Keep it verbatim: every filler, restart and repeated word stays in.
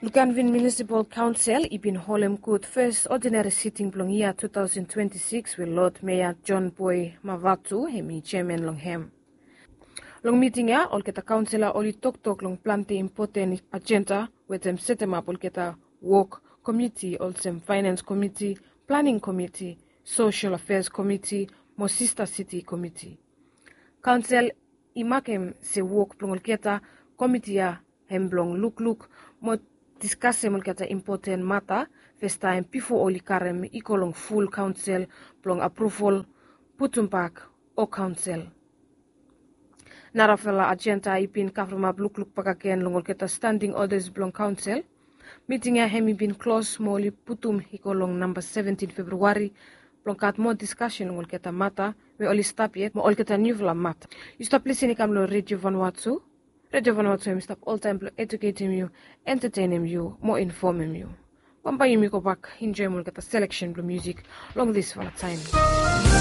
Luganvin Munisipal Kaonsel i bin holem gud fes odinari siting blong yia two thousand twenty-six we Lord Meya John Boy Mavatu hem i jeaman long hem. Long miting ya olgeta kaonsela oli toktok long plante impoten ajenda wetem setemap olgeta wok komiti olsem fainans komiti, planing komiti, sosel afeas komiti mo sista siti komiti. Kaonsel i makem se wok blong olgeta komiti ya hem blong lukluk mo diskasem olgeta impoten mata festaem bifo oli karem i go long ful kaonsel blong apruvol putumbak o kaonsel. Narafala ajenda i bin kavremap lukluk bakagen long olgeta standing odas blong kaonsel. Miting ya hem i bin klos mo oli putum i go long namba seventin Februari blong gat moa diskasen long olgeta mata we oli stap yet mo olgeta niufala mata. Yu stap lisin i kam long Redio Vanuatu. Redio Vanuatu hem i stap oltaem blong ejuketem yu, entetenem yu mo infomem yu. Bambae yumi gobak enjoem olgeta seleksen blong musik long disfala taem.